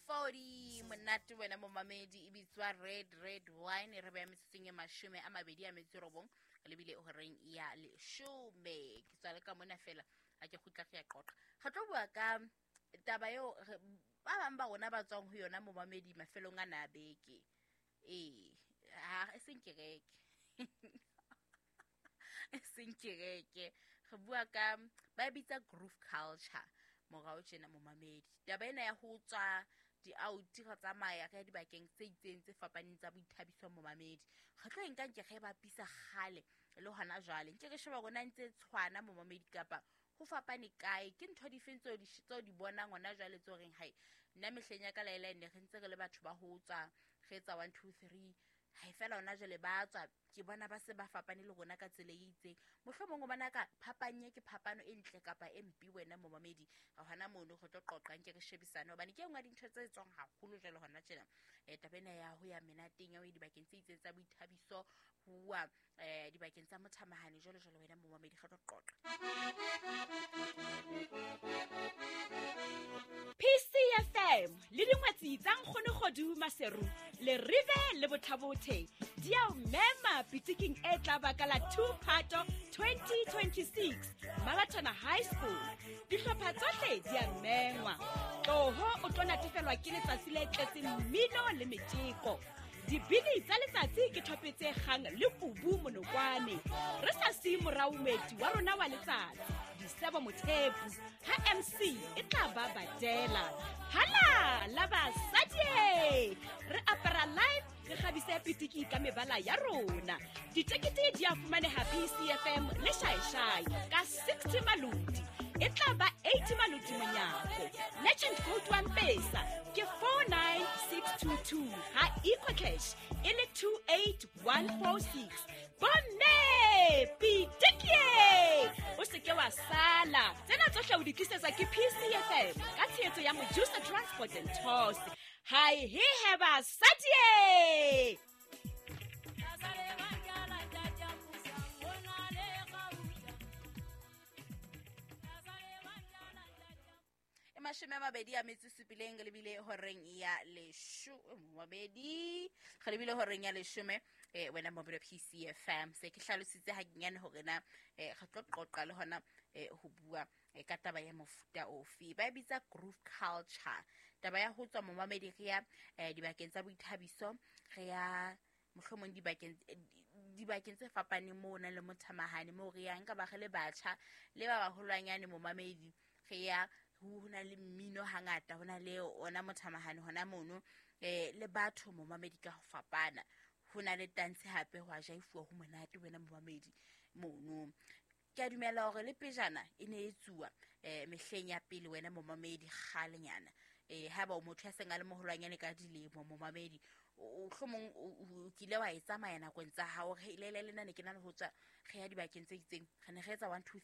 40 monate wena momamedi e bitswa Red Red Wine. Re beya metsotsong e 29 re lebile horeng ya 10. Ke tswa le ka mona fela a ke kgutla re ya qoqa. Re tlo bua ka taba eo ba bang ba rona ba tswang ho yona momamedi mafelong a na beke. Ee, ha e seng kereke. E seng kereke. Re bua ka ba bitsa groove culture morao tjena momamedi. Taba ena ya ho tswa di-out re tsamaya re ya dibakeng tse itseng tse fapaneng tsa boithabiso momamedi. Re tlo e nka nke re bapisa kgale le hona jwale. Nke re sheba rona ntse tshwana momamedi kapa ho fapane kae, ke ntho difeng tseo di bonang hona jwale tseo reng hai nna mehleng ya ka laela ne re ntse re le batho ba ho tswa re etsa 1 2 3 hai fela hona jwale ba tswa ke bona ba se ba fapane le rona ka tsela e itseng. Mohlomong o bona ka phapanye ke phapano e ntle kapa e mpe wena momamedi. Ga hona mono re tlo qoqa nke re shebisane hobane ke e nngwe ya dintho tse tswang haholo jwale hona tjena. Taba ena ya ho ya menateng ya ho ya dibakeng tse itseng tsa boithabiso ho dibakeng tsa mothamahane jwalo jwalo wena momamedi re tlo qoqa. PCFM le dingwetsi tsa Nkgono Kgodu Maseru le Rive le Bothabothe di a o mema pitiking e tla ba ka la 2 Phato 2026 Mabatona High School. Dihlopha tsohle di a mengwa. Tloho o tlo natefelwa ke letsatsi le tletseng mmino le metjeko. Dibini tsa letsatsi ke thope tse kgang le kubu monokwane. Re sa siye morao moeti wa rona wa letsatsi, Disebo Mothepu, ha MC e tla ba badela. Hala la basadi! Re apara live re kgabise pitiki ka mebala ya rona. Ditekete di a fumaneha PCFM le Shaeshai ka 60 maloti. E tla ba 80 maloti monyako. Legend code wa Mpesa ke 49622 ha EcoCash e le 28146. Bomme pitiki! O se ke wa sala. Tsena tsohle o di tlisetswa ke PCFM ka tshehetso ya Mojusa Transport and Tours. Hai he he basadi! E 27 re lebile horeng ya 12 re lebile horeng ya 10. Wena mobile PCFM se ke hlalositse hanyenyane hore na re tlo qoqa le hona ho bua ka taba ya mofuta ofe. Ba bitsa groove culture. Taba ya ho tswa momamedi re ya dibakeng tsa boithabiso, re ya mohlomong dibakeng tse fapaneng moo nang le mothamahane moo re yang ka ba re le batjha le ba baholwanyane momamedi. Re ya ho na le mmino hangata, ho na le ona mothamahane hona mono le batho momamedi ka ho fapana. Ho na le tantshe hape ho a jaifuwa ho monate wena momamedi mono. Ke a dumela hore le pejana e ne e tsuwa mehleng ya pele wena momamedi kgalenyana. Haeba o motho ya seng a le moholwanyane ka dilemo momamedi, mohlomong o kile wa e tsamaya nakong tsa hao. Re le le nna ne ke na le ho tswa re ya dibakeng tse itseng, re ne re etsa 1 2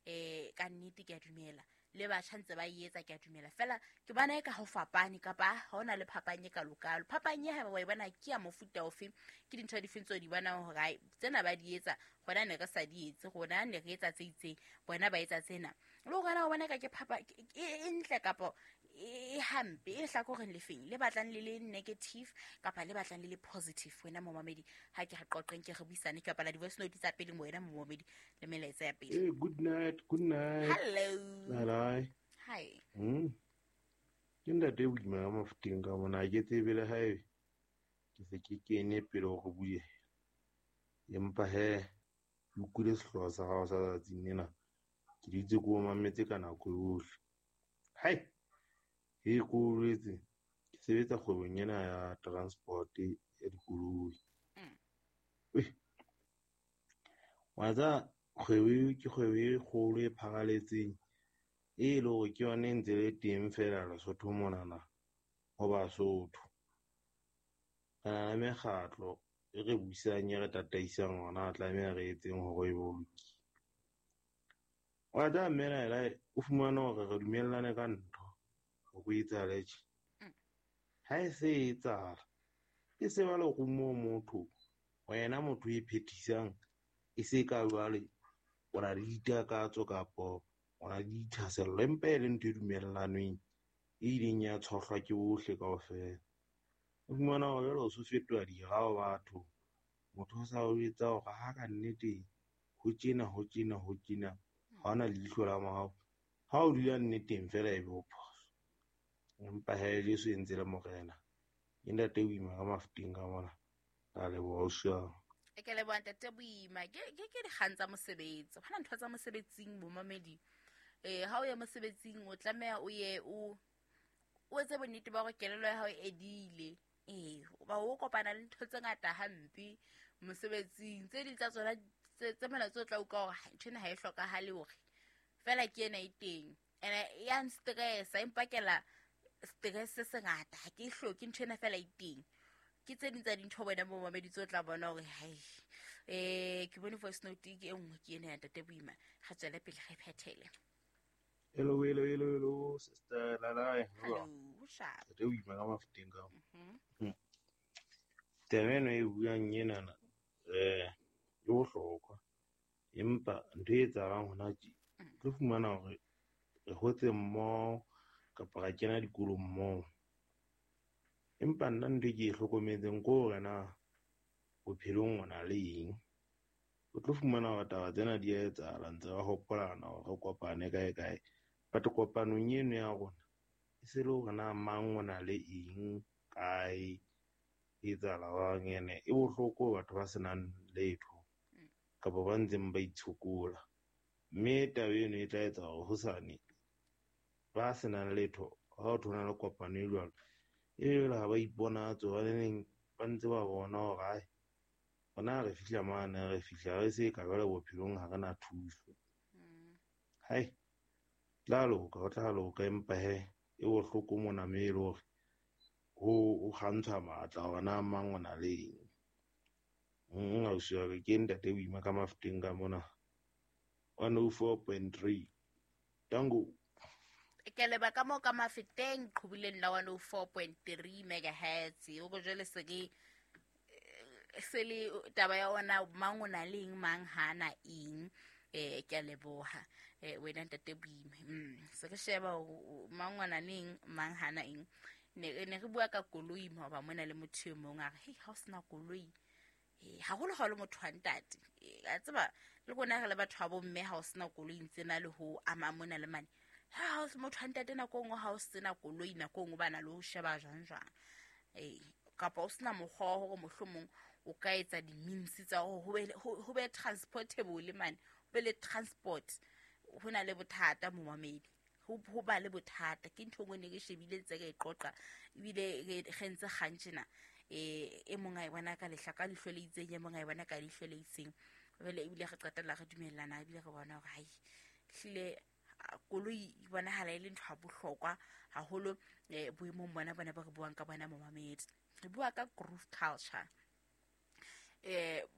3 ka nnete ke a dumela le batjha ntse ba e etsa ke a dumela. Fela ke bona e ka ho fapane kapa ha hona le phapang e kalokalo. Phapang e haeba wa e bona ke ya mofuta ofe, ke dintho difeng tseo di bonang hore ai tsena ba di etsa rona ne re sa di etse, rona ne re etsa tse itseng, bona ba etsa tsena. Le hore na o bona ka ke phapa e ntle kapa e hampe, e hlakoreng lefeng le batlang le le negative kapa le batlang le le positive wena momamedi. Ha ke re qoqeng ke re buisane kapa la di-voice note tsa pele wena momamedi le melaetsa ya pele. Hey, good night, good night. Hello. Hello. Hi. Ke ntate boima ka mafuteng ka mona, ha ke tsebe le haebe ke se ke kene pele hore bue. Empa he ke utlwile sehlooho sa hao sa tsatsing lena, ke dutse ke o mametse ka nako yohle. Hai, he ko boletse ke sebetsa kgwebong ena ya transport ya dikoloi. Wa tseba kgwebo eo ke kgwebo e kgolo e pharaletseng, e le hore ke yona e ntse le teng fela Lesotho monana ho Basotho. Re na le mekgatlo e re buisang e re tataisang hona tlameha re etseng hore e bolokile. Wa tseba mme Laela o fumane hore re dumellane ka ntho hore o etsahale tje. Ha e se e etsahala, e se ba lerumo motho, wena motho e phethisang e se ka jwale o na le ditakatso kapa o na le dithahasello, empa e le ntho e dumellanweng. e ileng ya tshohlwa ke bohle kaofela. O fumana hore jwale o so fetoha dira ho batho, motho o sa o jwetsa hore ha ka nnete ho tjena ho tjena ho tjena, ha hona leihlo la morao. Ha o dula nneteng fela ebe o phoso. Empa hee Jesu e ntse le morena. Ke ntate Boima ka Mafeteng ka mona. Ka leboha ausi wa ka. Ke leboha ntate Boima. Ke dikgang tsa mosebetsi. Hona ntho tsa mosebetsing bomamedi. Ha o ya mosebetsing o tlameha o ye o etse bonnete ba hore kelello ya hao e edile. Ba o kopana le ntho tse ngata hampe mosebetsing. Tse ding tsa tsona tse mona tse o tla utlwa hore ntho ena ha e hlokahale hore fela ke ena e teng. Ene ya nstressa, e mpakela stress se sengata, ha ke e hloke ntho ena fela e teng. Ke tse ding tsa dintho wena momamedi tse o tla bona hore hai, ke bone voice note ke e nngwe ke ena ya ntate Boima. Re tswele pele re phethele. Hello, hello, hello, hello, sister Lalai. Hello, sharp. Ntate Boima ka Mafeteng ka. Taba ena e buang enana, e bohlokwa. Empa ntho e etsahalang hona tje, tlo fumana hore re hotse mmoho kapa ra kena dikolong mmoho. Empa nna ntho e ke e hlokometseng ke hore na bophelong o na le eng. O tlo fumana hore taba tsena di a etsahala, ntse re hopolana hore re kopane kae kae. But kopanong eno ya rona e se le hore na mang o na le eng kae, e etsahala jwang. Ene e bohloko batho ba senang letho kapa ba ntseng ba itshokola. Mme taba eno e tla etsa hore hosane ba senang letho ha o thona le kopano e jwalo, e jwale ha ba iponatse hobaneng ba ntse ba bona hore ai rona re fihla mane, re fihla re se ka jwale bophelong ha re na thuso. Hai, tla loka, ho tla loka, empa he e bohloko mona mme e le hore ho kgantshwa matla hore na mang o na le eng. Ausi wa ka, ke ntate Boima ka Mafeteng ka mona. 104.3. Tango. Ke leba ka moo ka Mafeteng qhubileng la 104.3 megahertz. O go jwale se ke se le taba ya ona mang o na le eng, mang ha na eng. Ke a leboha. Wena ntate Boima. Se re sheba mang o na le eng, mang ha na eng. Ne re bua ka koloi maoba mona le motho e mong a re, hei, ha o sena koloi. Haholo ha o le motho wa ntate. A tseba le rona re le batho ba bomme ha o sena koloi ntse na le ho ama mona le mane. Ha o se motho wa ntate nako nngwe ha o sena koloi nako nngwe ba na le ho sheba jwang jwang. Kapa o sena mokgwa wa hore mohlomong o ka etsa di-means tsa hore ho be transportable mane, ho be le transport. Ho na le bothata momamedi. Ho ba le bothata. Ke ntho e nngwe ne ke shebile ntse re e qoqa, ebile re ntse kgang tjena. E mong a e bona ka lehla ka leihlo le itseng, e mong a e bona ka leihlo le itseng. Jwale ebile re qetella re dumellana, ebile re bona hore hai, hlile koloi e bonahala e le ntho ya bohlokwa haholo, boemong bona bona ba re buang ka bona momamedi. Re bua ka groove culture.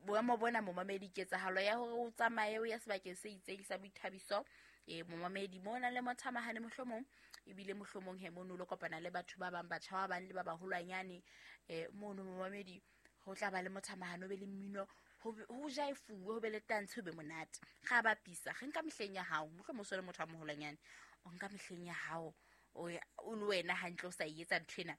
Boemo bona momamedi, ketsahalo ya hore o tsamaye o ya sebakeng se itseng sa boithabiso, momamedi mo na le mothamahane mohlomong, ebile mohlomong he mono lo kopana le batho ba bang, batjha ba bang le ba baholwanyane. Mono momamedi ho tla ba le mothamahane, ho be le mmino, ho jaefuwe, ho be le tantshe, ho be monate. Ga bapisa, re nka mehleng ya hao, mohlomong o so le motho a moholwanyane, o nka mehleng ya hao, o le wena hantle o sa e etsa ntho ena.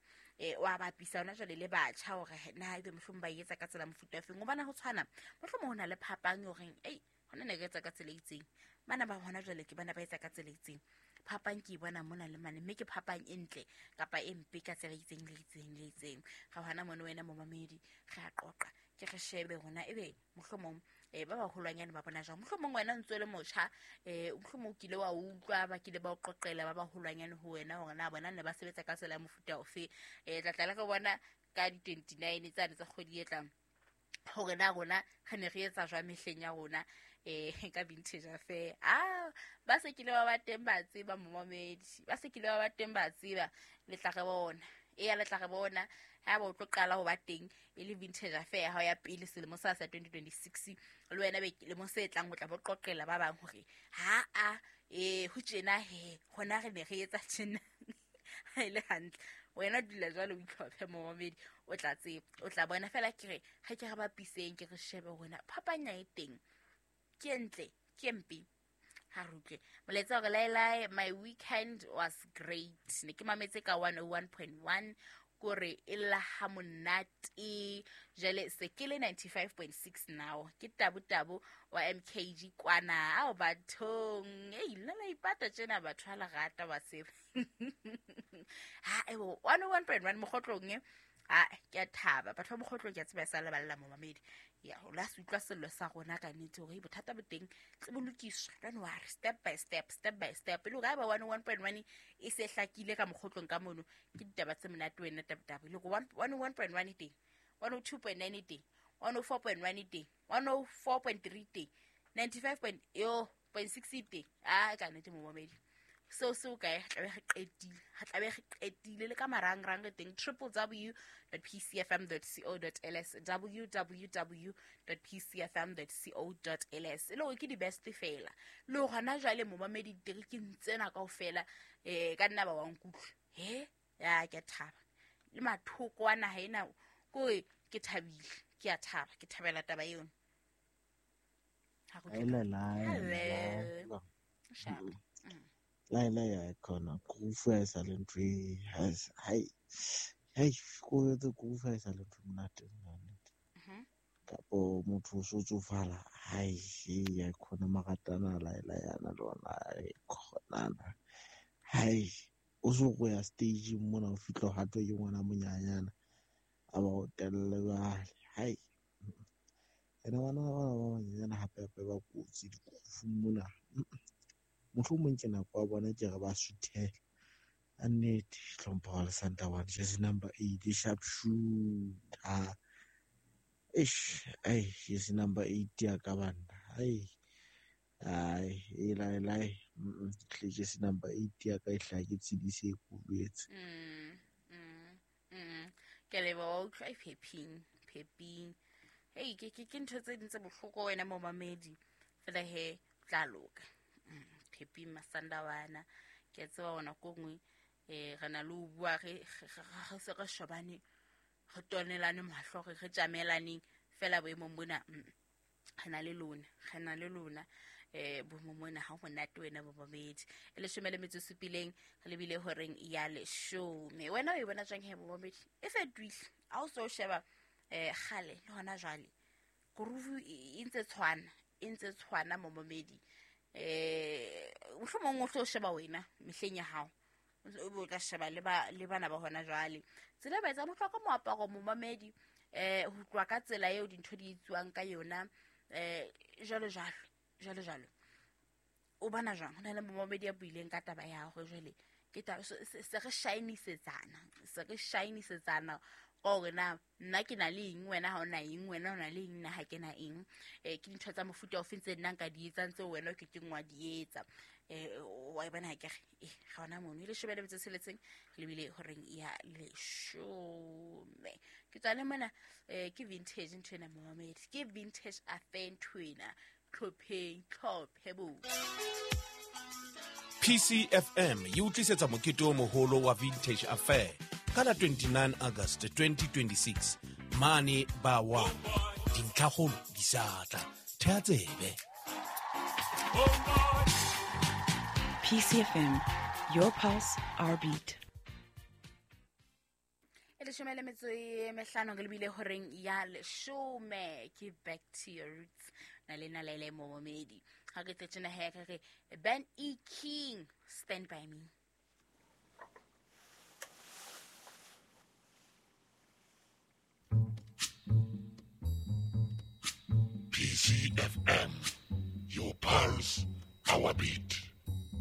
Wa bapisa hona jwale le batjha hore na ebe mohlomong ba e etsa ka tsela mofuta ofeng. Hobane ho tshwana, mohlomong ho na le phapang horeng, ei, hona ne re etsa ka tsela e itseng, bana ba hona jwale ke bana ba etsa ka tsela e itseng. Phapang ke e bona mona le mane, mme ke phapang e ntle kapa e mpe ka tsela e itseng le itseng le itseng. Ga hona mone wena momamedi, re a qoqa, ke re shebe hona ebe mohlomong ba baholwanyane ba bona jwang. Mohlomong wena o ntso le motjha, mohlomong o kile wa utlwa ba kile ba o qoqela ba baholwanyane ho wena hore na bona ne ba sebetsa ka tsela ya mofuta ofe. Tla tla le re bona ka di-29 tsane tsa kgwedi e tlang hore na rona re ne re etsa jwang mehleng ya rona, ka vintage affair. Ba se kile ba ba teng ba tseba momamedi, ba se kile ba ba teng ba tseba, le tla re bona. Eya, le tla re bona ha ba o tlo qala ho ba teng e le vintage affair ya hao ya pele selemo sa 2026, le wena be lemong se tlang o tla bo qoqela ba bang hore ha a ho tjena he hona re ne re etsa tjena. Ha e le hantle wena dula jwalo o itlhophe momamedi, o tla tseba, o tla bona fela. Ke re ha ke re bapiseng, ke re shebe hona phapanya e teng ke ntle ke mpe. Ha re utlwe molaetsa hore laelae, my weekend was great, ne ke mametse ka 101.1 kore e lla ha monate. Jwale se ke le 95.6 now, ke Tabu wa MKG kwana. Ao bathong, ei nna la ipata tjena batho ha le rata ba se ha ebo 101.1 Mokgotlong e. A ke a thaba batho ba Mokgotlong, ke a tseba e sa leballa momamedi ya o la se utlwa sello sa rona ka nnete hore bothata bo teng tse bo lokiswa. Don't worry, step by step, step by step. E le hore ha eba 101.1 e se hlakile ka Mokgotlong ka mono, ke ditaba tse monate wena Tabutabo. E le hore 101.1 e teng, 102.9 e teng, 104.1 e teng, 104.3 teng, 95.6 e teng. A ka nnete momamedi, seo se o kae, tlabe re qetile, ha tlabe re qetile le ka marangrang re teng www.pcfm.co.ls, www.pcfm.co.ls. E le hore ke di-best fela le hore hona jwale momamedi diterekeng tsena kaofela, ka nna ba wa nkutlwa. He ya ke a thaba le mathoko a naha ena, kore ke thabile, ke a thaba, ke thabela taba eno. Ha re utlwe. Hello. Sharp. Laila ya khona groove ha e sa le ntho e hai hai ko etse groove ha e sa le ntho e monate nnete. Kapo motho o so tsofala hai ya khona maratana Laila yana le ona e khonana hai o so go ya stage mona o fihla o hatwe ke ngwana monyanyana a ba o telle jwale hai ene bana ba banyana hape hape ba kotsi di-groove mona. Mohlomong ke nako ya bona ke re ba suthele a nnete. Hlompho wa Lesanta one jersey number 8 sharp shooter. Eish ai jersey number 8 ya ka banna ai ai e lai lai hle jersey number 8 ya ka e hlaha ke tshedise e kubetse. Ke leboha utlwa e pheping pheping. Hey ke ntho tse ding tse bohloko wena momamedi fela he tla loka. Pheping Masandawana ke a tseba ona ko nngwe, re na le ho bua re se re shobane, re tonelane mahlo, re tjamelaneng fela boemong bona. Re na le lona, re na le lona boemong bona ha ho monate wena momamedi. E 17 re lebile horeng ya 10. Wena o e bona jwang he momamedi? E fetohile ha o so sheba kgale le hona jwale, groove e ntse tshwana, e ntse tshwana momamedi. Mohlomong o tlo sheba wena mehleng ya hao, o bo tla sheba le bana ba hona jwale. Tsela ba etsa mohloko moaparo momamedi, ho tloha ka tsela eo dintho di etsuwang ka yona, jwalo jwalo jwalo jwalo. O bona jwang? Ho na le momamedi ya buileng ka taba ya hore jwale ke taba se re shinisetsana, se re shinisetsana hore na nna ke na le eng, wena ha o na eng, wena o na le eng, nna ha ke na eng. Ke dintho tsa mofuta ofe tse nna nka di etsang tseo wena o ke keng wa di etsa. Wa e bona ha ke re ga ona mono. E 16 lebile horeng ya 10. Ke tswa le mona, ke vintage ntho ena momamedi, ke vintage affair ntho ena. Tlhopheng, tlhophe bo. PCFM e utlisetsa mokete o moholo wa Vintage Affair ka la 29 August 2026 mane ba wa dintlhakgolo di sa tla. Thea tsebe. PCFM, your pulse, our beat. E 15 re lebile horeng ya 10. Ke back to your roots na le na le momamedi. Ha re tjena he re Ben E King, Stand By Me. PCFM, your pulse, our beat.